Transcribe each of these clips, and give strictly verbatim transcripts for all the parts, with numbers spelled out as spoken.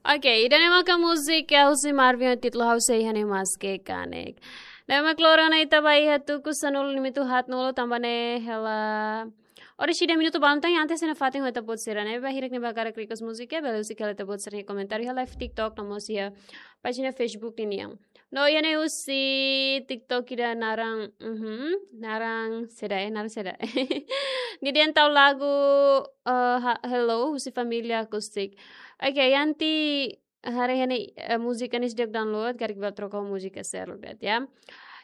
Oke, ida-ne'e maka múzika husi Marvin ho títulu Ha'u Sei Iha Ne'e Maske Kanek. Ne'e mak loron ne'e ita ba iha tuku sanulu limitu haat nulu tanba ne'e hela. Oras ida minutu balun tan, antes ida fatin ho ita-boot sira ne'ebé hirak ne'ebé hakarak request múzika, bele husik hela ita-boot sira-nia komentáriu iha live TikTok no mós iha pájina Facebook ninian. No iha ne'e husi TikTok ida naran, mhm, naran saida, eh, naran saida. Nia dehan tau lagu, eh, ha-, Hello, husi Família Acústica. Oke, Yanti haree iha ne'e, eh, múzika ne'e seidauk download, karik bele troka múzika seluk de'it, ya.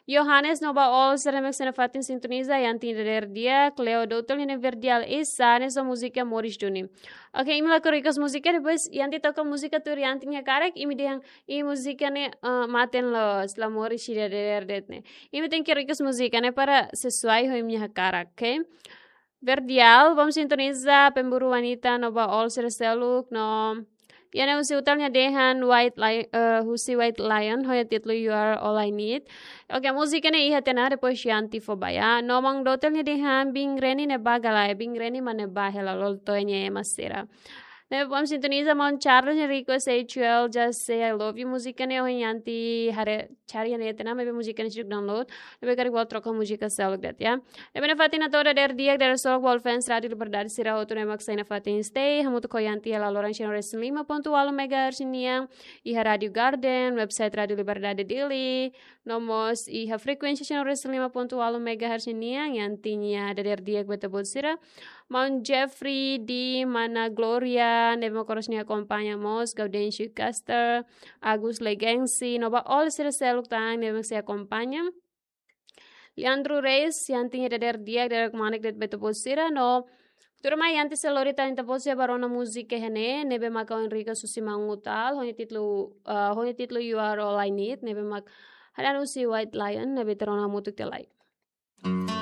Johannes no ba all sira ne'ebé mak iha ne'e fatin sintoniza, Yanti nia dadeer di'ak, Cleo Doutel nia ne'e verdial, Isa, ne'e só múzika Moris duni. Oke, imi lakohi request múzika, depois Yanti toka múzika tuir Yanti nia hakarak, imi dehan, i múzika ne'e, eh, maten loos, la moris ida dadeer de'it ne'e. Imi tenke request múzika ne'e para sesuai ho imi-nia hakarak, oke? Verdial, vamos sintoniza, Pemburu Wanita, no ba all sira seluk, no. Iha ne'e husi Utal nia dehan, White Lion, eh, husi White Lion, ho nia títulu You Are All I Need. Oke, múzika ne'e iha tiha ona, depois Yanti fó ba ya. No Mang Doutel nia dehan, Biin Reni ne'e ba ka lae, Biin Reni mak ne'e ba hela loloos to'o nia ema sira. Ne'e vamos sintoniza, Maun Charles nia request H U L, Just Say I Love You, múzika ne'e ohin Yanti haree cari iha ne'e tiha ona, maibé múzika ne'e seidauk download, ne'ebé karik bele troka múzika seluk de'it, ya. Ne'ebé iha ne'e fatin hato'o dadeer di'ak, dadeer solok ba all fans Rádio Liberdade sira hotu ne'ebé mak iha ne'e fatin stay hamutuk ho Yanti hela loron cento e cinco ponto walu megahertz nian, iha Rádio Garden, website Rádio Liberdade Dili, no mós iha frekuénsia cento e cinco ponto walu megahertz nian, Yanti nia dadeer di'ak ba ita-boot sira. Maun Jeffrey di Mana Gloria, ne'ebé mak oras ne'e akompaña mós, Gaudêncio Caster, Agus Legensi, no ba all sira seluk tan, ne'ebé mak sei akompaña. Leandro Reis, Yanti nia dadeer di'ak, dadeer kmanek de'it ba ita-boot sira, no tuirmai Yanti sei lori tan ita-boot sira ba rona múzika iha ne'e, ne'ebé maka ohin request husi Maun Utal, ho nia títulu, eh, ho nia títulu You Are All I Need, ne'ebé mak hanesan husi White Lion, ne'ebé ita rona hamutuk tiha lai.